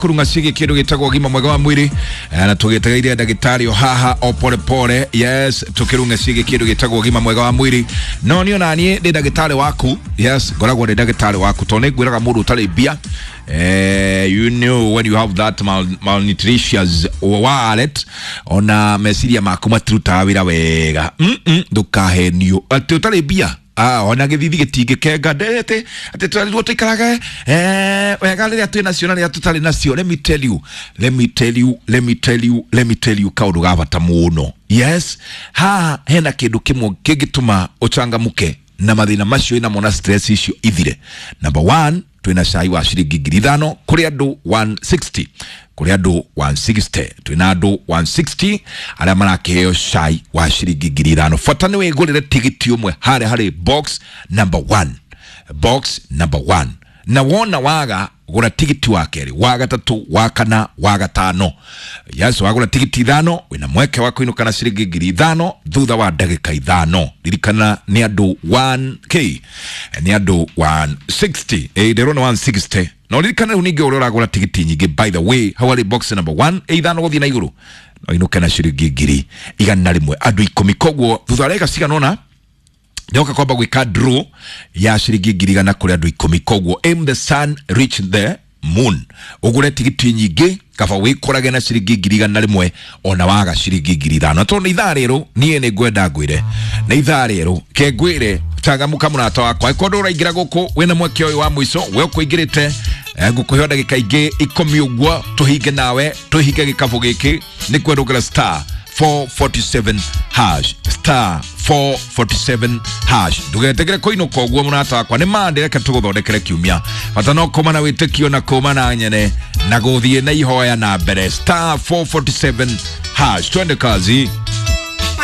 Kurunga ciĩgiĩ kĩndũ gĩtagwo ũgima mwega wa mwĩrĩ, na tũgĩtegeire ndagĩtarĩ o haha o pole pole. Yes, tũkĩrunga ciĩgiĩ kĩndũ gĩtagwo ũgima mwega wa mwĩrĩ. No niĩ ona niĩ ndĩ ndagĩtarĩ waku. Yes, ngoragwo ndĩ ndagĩtarĩ waku tondũ nĩ ngwĩraga mũndũ ũtarĩ mbia, you know, when you have that malnutritious wallet, ona meciria maku matirutaga wĩra wega. Ndũkahenio atĩ ũtarĩ mbia. Ah, ona gĩthithi gĩtingĩkenga ndete atĩ twarirwo tũikarage wega rĩrĩa twĩ nacio na rĩrĩa tũtarĩ nacio. Let me tell you, let me tell you, let me tell you, let me tell you kaũndũ ga bata mũno. Yes, haha hena kĩndũ kĩmwe kĩngĩtũma ũcangamũke na mathĩna macio ĩnamo na stress icio ithire. Number one, twĩna cai wa ciringi 5,000 kũrĩ andũ 160, kũrĩ andũ 160. Twĩna andũ 160 arĩa marakĩheo cai wa ciringi 5,000. Bata nĩ wĩgũrĩre tigiti ũmwe harĩa harĩ box number one, box number one. Na wona waga, gũra tigiti wa kerĩ, wa gatatũ, wa kana, wa gatano. Yes, wagũra tigiti 5 wĩna mweke wa kũinũka na ciringi 5,000 thutha wa ndagĩka 5. Ririkana nĩ andũ 1k, nĩ andũ 160. Ĩ ndĩrona 160. No ririkana rĩu ningĩ ũrĩa ũragũra tigiti nyingĩ, by the way, hau harĩ box number 1, ĩ 5 gũthiĩ na igũrũ, no inũke na ciringi 100,000, andũ 10. Koguo thutha wa ndagĩka cigana ũna nyoka kwamba gwĩka draw ya ciringi 100,000 kũrĩ andũ 10. Koguo aim the sun, reach the moon. Ũgũre tigiti nyingĩ kaba wĩkorage na ciringi 100,000 ona waga ciringi 5,000. Tondũ nĩ ithaa rĩrũ niĩ nĩ ngwenda ngwĩre nĩ ithaa rĩrũ ke ngwĩre cangamuka mũrata wakwa. Angĩkorwo ndũraingĩra gũkũ, wĩna mweke ũyũ wa mũico. We ũkũingĩrĩte, ngũkũhe ndagĩka ingĩ 10 ũguo tũhinge nawe, tũhinge gĩkabũ gĩkĩ. Nĩ kwendũkĩra star 447 hash, star 447 hash. Ndũgetegere kũinũka ũguo mũrata wakwa. Nĩ mande reke tũgũthondekere kiumia. Bata no kũma na wĩtĩkio na kũma na nyene na gũthiĩ na ihoya na mbere. Star 447 hash, twende kazi.